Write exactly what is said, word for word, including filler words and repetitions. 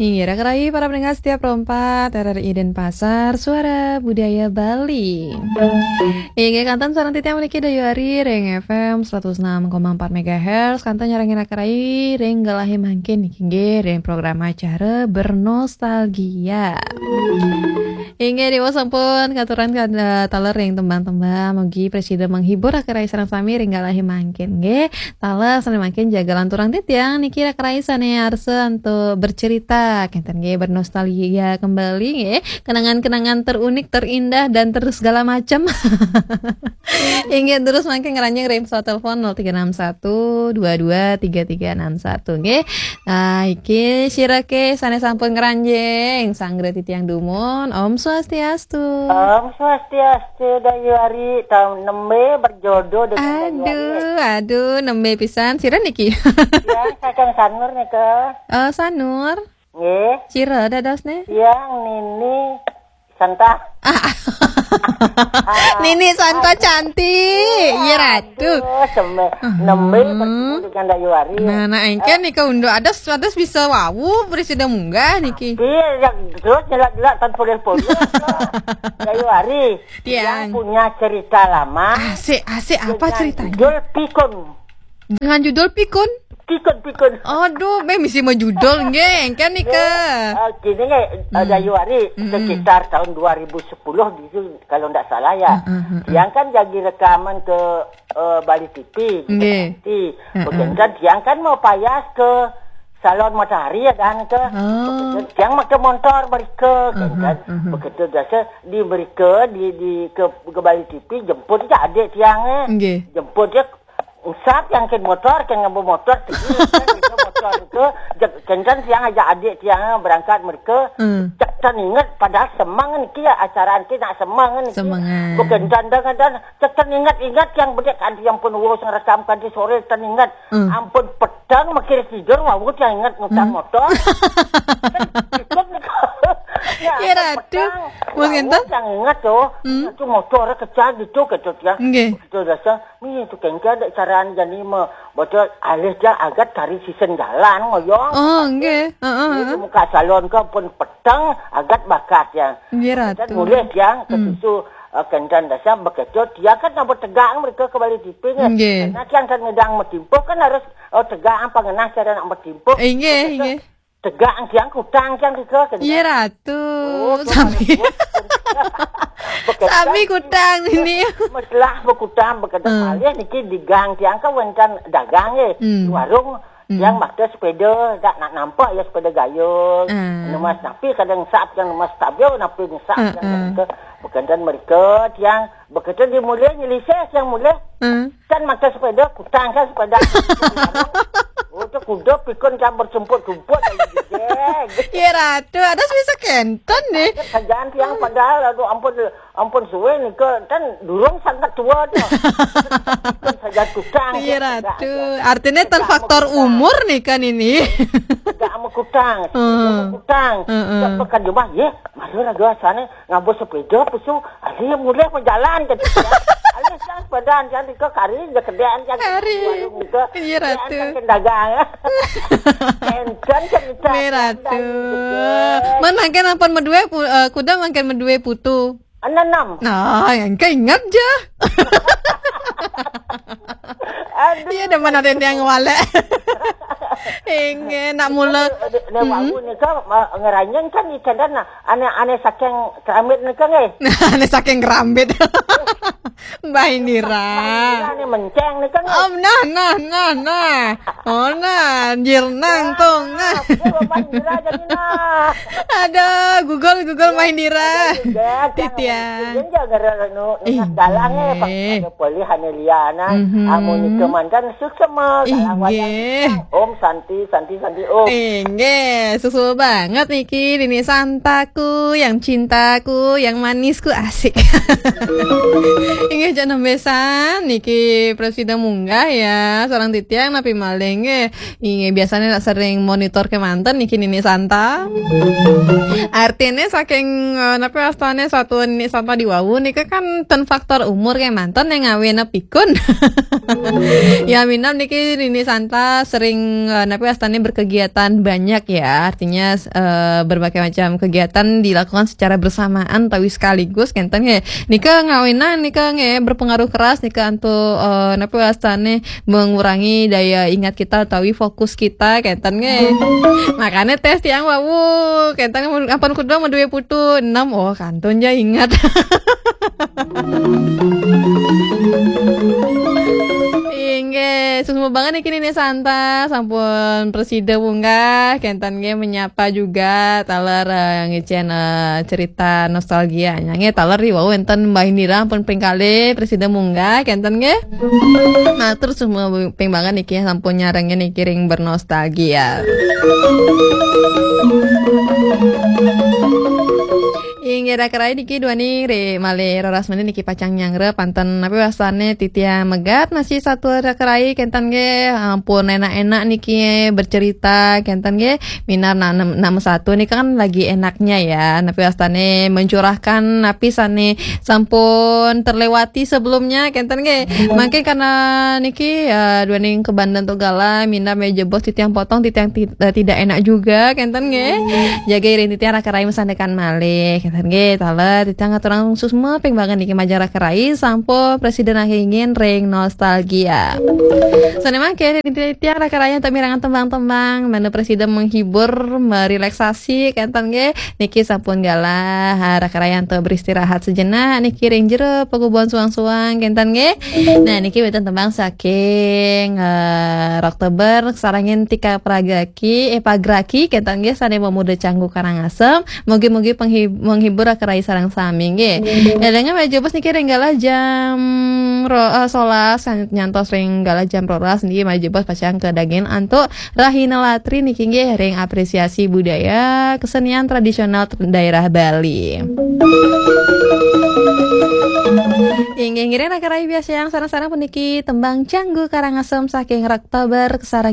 Inggih, raka rai para pendengar setia Pro empat R R I Denpasar, Suara Budaya Bali. Inggih, kantun sareng titiang puniki Dayu Ari ring F M seratus enam koma empat megahertz, kantun nyarengin raka rai ring galahé mangkin niki, inggih, ring program acara Bernostalgia. Inggih, Déwa sampun katurang ka-, taler ring tembang-tembang, mugi prasida menghibur raka rai sareng sami ring galahé mangkin, nggih. Taler sané mangkin jaga lanturang titiang niki raka rai sané arsa antuk bercerita, kénten nggih, bernostalgia kembali nggih, kenangan-kenangan terunik, terindah dan ter-, segala macam. Inggih, terus mangkin ngranjing ring pesawat telepon nol tiga enam satu dua dua tiga tiga enam satu nggih. Ah, iki sira ké sané sampun ngranjing, sanggra titiang dumun. Om Swastiastu. Om Swastiastu, Dayu Ari, taun nembé berjodoh dengan Dayu Ari. Aduh, aduh, nembé pisan. Sira niki? Ya, saking Sanur nika. Eh, Sanur. Nggih. Sira dadosné? Tiang Nini Santa. Ah. Nini Santa cantik. Iya, Ratu. Aduh, seme-, nembé bertemu dengan Dayu Ari. Nah, nah, éngkén nika unduk. Adas, adas bisa wau, prasida munggah niki. Iya, yang terus nyelak-nyelak tan polih-polih. Dayu Ari, Tiang. Yang punya cerita lama. Asik, asik. Apa ceritanya? Dengan judul Pikun. Dengan judul Pikun? Pikun, Pikun. Aduh, meh misi mah judul nggih, kan nika. Nggih. Eh, gini nggih, eh, Dayu Ari, sekitar tahun dua ribu sepuluh gitu, kalau ndak salah ya. Heeh, heeh. Tiang kan jadi rekaman ke, eh, Bali T V, gitu, nggih. T V. Heeh. Begitu tiang kan mau payas ke Salon Matahari ya kan ke. Oh. Begitu tiang maké montor mereka, kan. Heeh, heeh. Begitu biasa di mereka di, di ke, ke Bali T V jemput aja adik tiang, eh. Nggih. Jemput dia Usap yang ken motor, ken ngembu motor, tinggi, ken itu motor itu, je-, ken kan tiang aja adik tiang berangkat mereka, Hmm. cek tan inget, padahal semang niki ya acara niki nak semang niki. Semangat. Bukan dan, dan, dan, cek tan inget, inget yang bedek kan yang pun wos ngerekam kan di sore tan inget. Hmm. Ampun petang makin tidur, wawut yang inget ngutang Hmm. motor. Kan ikut nih. Ya, Ya, ampun Ratu. petang, Mas wawut Genta? Yang inget tuh, Hmm. itu motor kecil gitu, gitu ya. Nggih. Betul biasa. Ni tu kan ada caraan jani mah. Betul, alih dia agat kari sisen jalan ngoyong. Oh, nggih. Heeh, Ni heeh. Muka salon ke pun petang agat bakat ya. Nggih, Dan Ratu. mulih tiang ke Hmm. susu, eh, kendan dasar bekecut. Dia kan nak bertegak mereka ke Bali T V ni. Nggih. Karena tiang kan ngedang metimpuh kan harus, eh, tegak apa ngenah cara nak metimpuh. Eh, nggih, Bekecut. nggih. Tegak tiang kutang tiang tiga kan. Iya, Ratu. Oh, Sami. Bekecut. Sami kutang ini. Meslah berkutang, bekecut Hmm. malih niki di gang tiang kan wénten dagang eh. Hmm. Di warung Hmm. tiang maké sepeda, dak nak nampak ya sepeda gayung. Hmm. Nemas tapi kadang sap tiang nemas tabio napi ngesap Hmm, tiang hmm. ke. Bekecut mereka tiang, bekecut di mulih nyelisih tiang mulih. Hmm. Kan maké sepeda, kutang kan sepeda. Oh, tu kuda pikun kan bersumput-sumput lagi gede. Ya, Ratu, ada bisa kenten nih. Kerjaan tiang padahal, aduh, ampun, ampun suwe nih, ke, kan durung sangat tua tu. Saja kutang, Iya, kan, Ratu. Artinya tan Tegak faktor sama kutang. umur nih kan ini. Tegak sama kutang, Hmm. sama kutang. Heeh. Tak pekan jumah, ye, malu raga sana. Ngabus sepeda, pusu, alih mulih berjalan, kata dia. Alih sang sepeda, jangan dika kari, dia kedek, jangan Kari. warung dika. Iya, Dia Ratu. Kan dagang. Enten cerita Ni, Ratu. Enten cerita. Man mangkin ampun medue pu-, eh, kuda mangkin medue putu. Enam, enam. Nah, yang keinget je. Aduh. Iya, dah mana ada yang walek. Inggih, nak mula. Nek Mm-mm. wau nika, ma-, ngeranjing kan icendan, nah, ane, ane saking kerambit nika nggih. Ane saking kerambit. Mbah Indira. Mbah Indira ni menceng nika nggih. Om, nah, nah, nah, nah. Oh, nah, jirnang tong, nah. Aku Mbah Indira jadi nah. Aduh, Google, Google Mbah Indira. Iya, Titian. Jangan ngera-, nu, nu Inggih. galang eh, Pak. Ada polih ane liana. Mhm. Amun nika mantan suksma, galang Inggih. wayang. Om Santi, Santi, Santi, Om. Inggih, susul banget niki, Nini Santaku, yang cintaku, yang manisku, asik. Inggih, jam enam belas-an niki presida munggah ya, sareng titiang napi malih nggih. Inggih, biasanya nak sering monitor kemanten niki Nini Santa. Artinya saking, eh, napi wastane satuan Nini Santa di wau nika kan ten faktor umur kemanten yang ngawinang pikun. Ya, minab niki Nini Santa sering, eh, napi wastane berkegiatan banyak ya. Artinya, eh, berbagai macam kegiatan dilakukan secara bersamaan utawi sekaligus kenten nggih. Nika ngawinang nika nggih berpengaruh keras nika antuk, eh, napi wastane mengurangi daya ingat kita utawi fokus kita kenten nggih. Makanya tes tiang wau kenten ampun kuda mau duwe putu enam, oh kantun ja ingat. Inggih, suksma banget niki Nini Santa, sampun presida munggah, kenten nggih menyapa juga taler, eh, ngicen, eh, cerita nostalgia. Nggih, taler riwau enten Mbah Indira pun ping kalih presida munggah, kenten nggih. Matur suksma ping banget niki sampun nyarengin niki ring bernostalgia. Inggih, raka rai niki duaning ri malih roras menit niki pacang nyanggra panten napi wastane titiang megat masih satu raka rai kenten nggih, ampun enak-enak niki bercerita kenten nggih. Minab na-, nam-, nama satu nika kan lagi enaknya ya, napi wastane mencurahkan napi sane sampun terlewati sebelumnya kenten nggih. Mangke karena niki, eh, duaning kebandan tu gala minab meja bos titiang potong titiang ti-, eh, tidak enak juga kenten nggih. Jaga iring titiang raka rai mesandekan malih kenten nggih. Taler titiang ngaturang suksma ping banget niki majeng raka rai sampun presiden ingin ring nostalgia. Sane mangke titiang raka rai untuk mirengang tembang-tembang menu presiden menghibur, merelaksasi kenten nggih. Niki sampun galah, ha, raka rai untuk beristirahat sejenak niki ring jero pagubuan suang-suang kenten nggih. Nah, niki wenten tembang saking, eh, Roktober sarengin Tika Pragaki, eh, Pagraki kenten nggih sane memuda Canggu Karangasem. Mugi-mugi penghi-, menghibur raka rai sareng sami nggih. Elinga meja bos niki ring galah jam ro-, eh, solas ngantos ring galah jam rolas niki meja bos pacang kedagin antuk Rahina Latri niki nggih ring apresiasi budaya kesenian tradisional ter-, daerah Bali. Inggih ngiring raka rai biasa yang sareng-sareng puniki tembang Canggu Karangasem saking Roktober sareng